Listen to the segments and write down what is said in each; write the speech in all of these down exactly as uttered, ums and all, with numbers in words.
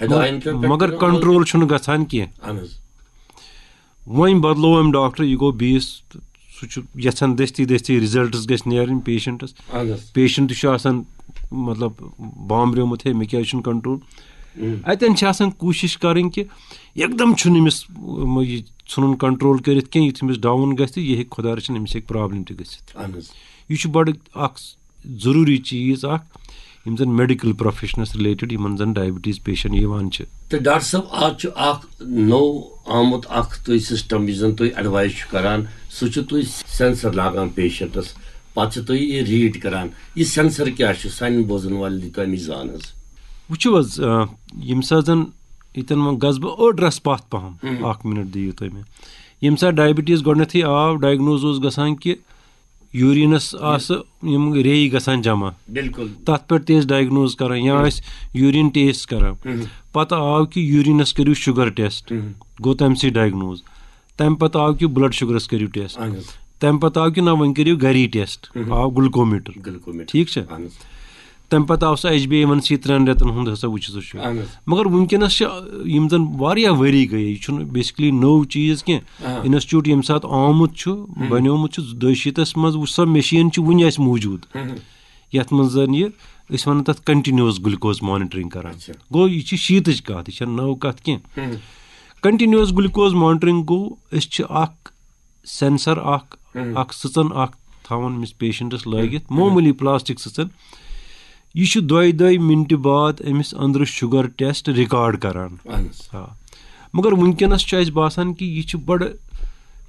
ہدایتن پٮ۪ٹھ مگر کران عمل۔ کنٹرول چھُنہٕ گژھان کینٛہہ۔ اہن حظ۔ وۄنۍ بدلوو أمۍ ڈاکٹر، یہِ گوٚو بیٚیِس، سُہ چھُ یژھان دٔستی دٔستی رِزلٹس گژھِ نیرٕنۍ پیشنٹس۔ اہن حظ۔ پیشنٹ چھُ آسان مطلب بامبریومُت، ہے مےٚ کیازِ چھُنہٕ کنٹرول۔ ہم۔ اتٮ۪ن چھِ آسان کوٗشش کرٕنۍ کہِ یکدم چھُنہٕ أمِس م-، یہِ ژھُنُن کنٹرول کٔرِتھ کینٛہہ، یُتھ أمِس ڈاوُن گژھِ تہٕ یہِ ہیٚکہِ خۄدا رٔچھِنۍ أمِس ہیٚکہِ پرابلم تہِ گٔژھِتھ۔ اہن حظ۔ یہِ چھُ بڑٕ اکھ ضروٗری چیٖز اکھ، یِم زن میڈیکل پروفیشنس رِلیٹڈ یِمن زن ڈایبٹیز پیشنٹ یِوان چھِ۔ تہٕ ڈاکٹر صٲب، آز چھُ اکھ نوٚو آمُت اکھ تُہۍ سسٹم، یُس زن تُہۍ ایڈوائز چھُ کران، سُہ چھُ تُہۍ سینسر لاگان پیشنٹس، پتہٕ چھِ تُہۍ یہِ ریڈ کران۔ یہِ سینسر کیٛاہ چھُ؟ سانٮ۪ن بوزن والٮ۪ن دِتو اَمِچ زان حظ۔ وٕچھِو حظ، آ، ییٚمہِ ساتہٕ زن ییٚتٮ۪ن وۄنۍ گژھٕ بہٕ أڑ رژھ پتھ پہم، ہم۔ اکھ منٹ دِیِو تُہۍ مےٚ۔ ییٚمہِ ساتہٕ ڈایبٹیز گۄڈٕنیتھٕے آو، ڈایگنوز اوس گژھان کہِ یوٗریٖنس آسہٕ یِم ریٚیہِ گژھان جمع، بِلکُل۔ تتھ پٮ۪ٹھ تہِ ٲسۍ ڈایگنوز کران یا ٲسۍ یوٗریٖن ٹیسٹ کران۔ ہم۔ پتہٕ آو کہِ یوٗریٖنس کٔرِو شُگر ٹیسٹ، ہم۔ گوٚو تمہِ سۭتۍ ڈایگنوز۔ تمہِ پتہٕ آو کہِ بلڈ شُگرس کٔرِو ٹیسٹ۔ اہن حظ۔ تمہِ پتہٕ آو کہِ نہ، وۄنۍ کٔرِو گری ٹیسٹ، ہم۔ آو گلوکومیٹر۔ گلوکومیٹر۔ ٹھیٖک چھا؟ اہن حظ۔ تمہِ پتہٕ آو سُہ H B A one C ترٛٮ۪ن رٮ۪تن ہُنٛد ہسا وٕچھِو سُہ چھُ۔ اہن حظ۔ مگر وٕنکیٚنس چھِ یِم زن واریاہ ؤری گٔے، یہِ چھُنہٕ بیسکلی نوٚو چیٖز کینٛہہ۔ آ۔ انسٹیٹیوٹ ییٚمہِ ساتہٕ آمُت چھُ، بنیومُت چھُ دۄیہِ شیٖتس منٛز، وٕچھ سۄ مِشیٖن چھِ وُنہِ اسہِ موٗجوٗد، ہم۔ یتھ منٛز زن یہِ أسۍ ونان تتھ کنٹینیوس گلوکوز مانیٹرنگ کران۔ اچھا۔ گوٚو یہِ چھِ شیٖتٕچ کتھ، یہِ چھےٚ نٔو کتھ کینٛہہ۔ ہم۔ کنٹینیوس گلوکوز مانیٹرنگ گوٚو أسۍ چھِ اکھ سینسر اکھ، ہم۔ اکھ سٕژن اکھ تھاوان أمِس پیشنٹس لٲگِتھ، معموٗلی پلاسٹک سٕژن۔ یہِ چھُ دۄیہِ دۄیہِ منٹہِ بعد أمِس أنٛدرٕ شُگر ٹیسٹ ریکارڈ کران۔ اہن حظ۔ آ۔ مگر وٕنکیٚنس چھُ اسہِ باسان کہِ یہِ چھُ بڑٕ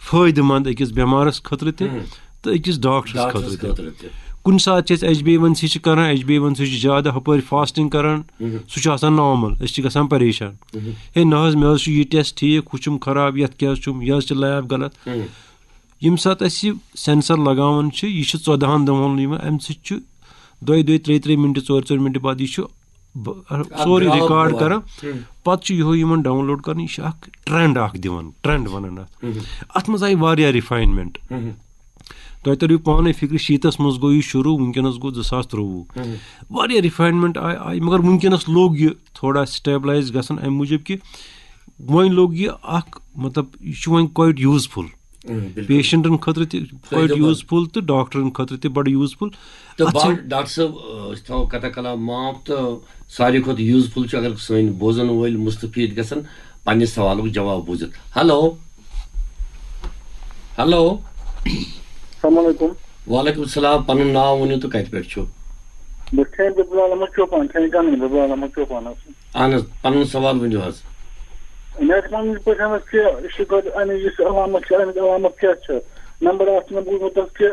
فٲیدٕ مند أکِس بٮ۪مارس خٲطرٕ تہِ ہم۔ تہٕ أکِس ڈاکٹرس ڈاکٹرس خٲطرٕ تہِ۔ خٲطرٕ تہِ۔ کُنہِ ساتہٕ چھِ أسۍ ایچ بی ون سی چھِ کران، ایچ بی ون سی چھُ زیادٕ ہپٲرۍ فاسٹنگ کران، ہم۔ سُہ چھُ آسان نارمل، أسۍ چھِ گژھان پریشان۔ ہم۔ ہے نہ حظ، مےٚ حظ چھُ یہِ ٹیسٹ ٹھیٖک، ہُہ چھُم خراب، یتھ کیٛاہ حظ چھُم، یہِ حظ چھِ لیب غلط۔ ہم۔ ییٚمہِ ساتہٕ أسۍ یہِ سینسر لگاوان چھِ، یہِ چھُ ژۄدہن دۄہن یِوان، امہِ سۭتۍ چھُ دۄیہِ دۄیہِ، ترٛیٚیہِ ترٛیٚیہِ منٹہِ، ژورِ ژورِ منٹہِ بعد یہِ چھُ ب-، سورُے گراف ریکارڈ دِوان۔ کران۔ ہم۔ پتہٕ چھُ یِہوے یِمن ڈاؤن لوڈ کران، یہِ چھُ اکھ ٹرینڈ اکھ دِوان، ٹرینڈ ونان اتھ۔ ہم۔ اتھ منٛز آیہِ واریاہ ریفاینمنٹ۔ ہم۔ تۄہہِ تریو پانے فکرِ، شیٖتس منٛز گوٚو یہِ شروٗع، وٕنکیٚنس گوٚو زٕ ساس ترٛۆوُہ۔ ہم۔ واریاہ ریفاینمنٹ آیہِ، آیہِ، مگر وٕنکیٚنس لوٚگ یہِ تھوڑا سٹیبلایز گژھن، امہِ موٗجوٗب کہِ وۄنۍ لوٚگ یہِ اکھ، مطلب، یہِ چھُ وۄنۍ کویٹ یوٗزفُل۔ ہم، بِلکُل۔ پیشنٹن خٲطرٕ تہِ کویٹ فٲیدٕ منٛد۔ یوٗزفُل تہٕ ڈاکٹرن خٲطرٕ تہِ بڑٕ یوٗزفُل۔ تہٕ اتھ بہٕ چھِ ہا-، ڈاکٹر صٲب، أسۍ تھاوو کتھا کلام معاف تہٕ ساروی کھۄتہٕ یوٗزفُل چھُ اگر سٲنۍ بوزن وٲلۍ مستفید گژھن پننہِ سوالُک جواب بوٗزِتھ۔ ہیلو۔ ہیلو۔ السلام علیکم۔ وعلیکم السلام، پنُن ناو ؤنِو تہٕ کتہِ پٮ۪ٹھ چھِو؟ بہٕ چھُس بِلال احمد چوپان، چھُس گنگنہٕ بِلال احمد چوپان حظ۔ اہن حظ، پنُن سوال ؤنِو حظ۔ مےٚ ٲسۍ وَنُن یِتھ پٲٹھۍ حظ کہِ شُگر اَمِچ یُس علامت چھِ، اَمِچ علامت کیٛاہ چھِ؟ نمبر اَکھ چھُ مےٚ بوٗزمُت حظ کہِ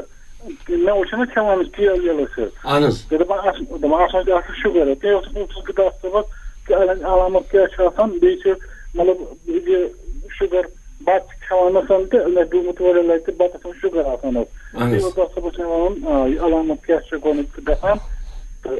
مےٚ اوس چھُنہ کھٮ۪وان أسۍ کیل ویل أسۍ حظ۔ اہن حظ۔ تہٕ دَپان اَتھ دَپان اَتھ منٛز چھِ آسان شُگر حظ۔ تَمہِ اوس پوٚژھُس کہِ ڈاکٹر صٲبَس کہِ اَتھ علامت کیٛاہ چھِ آسان، بیٚیہِ چھِ مطلب یہِ شُگر بَتہٕ چھِ کھٮ۪وان آسان تہٕ مےٚ چھُ گوٚمُت واریاہ لَٹہِ تہٕ بَتَس منٛز شُگر آسان حظ۔ اہن حظ۔ بیٚیہِ اوس ڈاکٹر صٲبَس مےٚ وَنُن، آ، یہِ علامت کیٛاہ چھِ گۄڈٕنٮ۪تھ گژھان تہٕ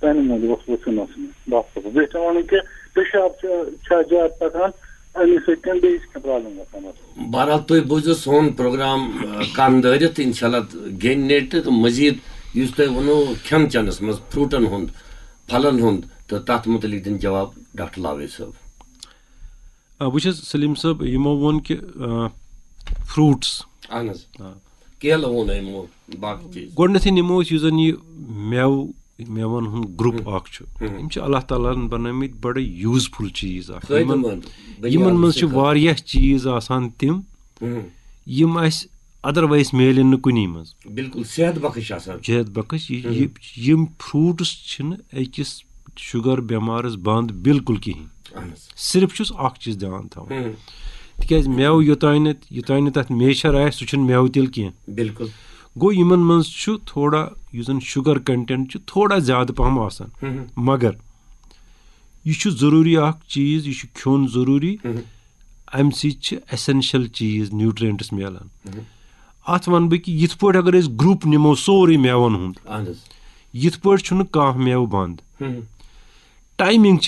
تَمہِ موٗجوٗب اوس پرٛژھُن اوس مےٚ ڈاکٹر صٲبَس۔ بیٚیہِ چھِ وَنُن کہِ پِشاب چھِ، چھا زیادٕ پَکان، اَمی سۭتۍ کِنہٕ بیٚیہِ چھِ کینٛہہ پرٛابلِم گژھان اَتھ؟ بہرحال، تُہۍ بوٗزِو سون پروگرام، آ، کَن دٲرِتھ، اِنشاء اللہ گیٚنہِ نیرِ تہٕ مزید یُس تۄہہِ ووٚنوُ کھٮ۪ن چٮ۪نَس منٛز فروٹَن ہُنٛد، پھلَن ہُنٛد، تہٕ تَتھ مُتعلِق دِن جواب ڈاکٹر لاوے صٲب۔ آ، وٕچھ حظ سلیم صٲب، یِمو ووٚن کہِ، آ، فروٹس۔ اہن حظ۔ آ۔ کیلہٕ ووٚن أمۍ، ووٚن باقٕے چیٖز۔ گۄڈٕنیتھٕے نِمو أسۍ یُس زن یہِ مٮ۪وٕ، مٮ۪وَن ہُنٛد گروپ اکھ چھُ، ہم۔ یِم چھِ اللہ تعالیٰ ہن بنٲومٕتۍ بڑٕ یوٗزفُل چیٖز اکھ۔ فٲیدٕ یِمن، منٛد۔ بنیادس یِمن منٛز چھِ سۭتۍ۔ واریاہ چیٖز آسان تِم، ہم۔ یِم اَسہِ ادروایز میلن نہٕ کُنی منٛز۔ بِلکُل صحت بخش آسان۔ جہد بخش، یہِ، ہم۔ یہِ، یِم فروٹس چھِنہٕ أکِس شُگر بٮ۪مارس بنٛد بِلکُل کِہینۍ۔ اہن حظ۔ صرف چھُس اکھ چیٖز دھیان تھاوان۔ ہم۔ تِکیازِ مٮ۪وٕ یوٚتام نہٕ، یوٚتام نہٕ تَتھ میچھر آسہِ، سُہ چھُنہٕ مٮ۪وٕ تیٚلہِ کینٛہہ۔ بِلکُل۔ گوٚو یِمن منٛز چھُ تھوڑا، یُس زن شُگر کنٹینٹ چھُ، تھوڑا زیادٕ پہم آسان۔ ہم۔ مگر یہِ چھُ ضروٗری اکھ چیٖز، یہِ چھُ کھیوٚن ضروٗری۔ ہم۔ امہِ سۭتۍ چھِ ایسینشل چیٖز، نیوٹرینٹس میلان۔ ہم۔ اتھ ونہٕ بہٕ کہِ یِتھ پٲٹھۍ اگر أسۍ گروپ نِمو سورُے مٮ۪وَن ہُنٛد، اہن حظ۔ یِتھ پٲٹھۍ چھُنہٕ کانٛہہ مٮ۪وٕ بنٛد۔ ہم۔ ٹایمنگ چھِ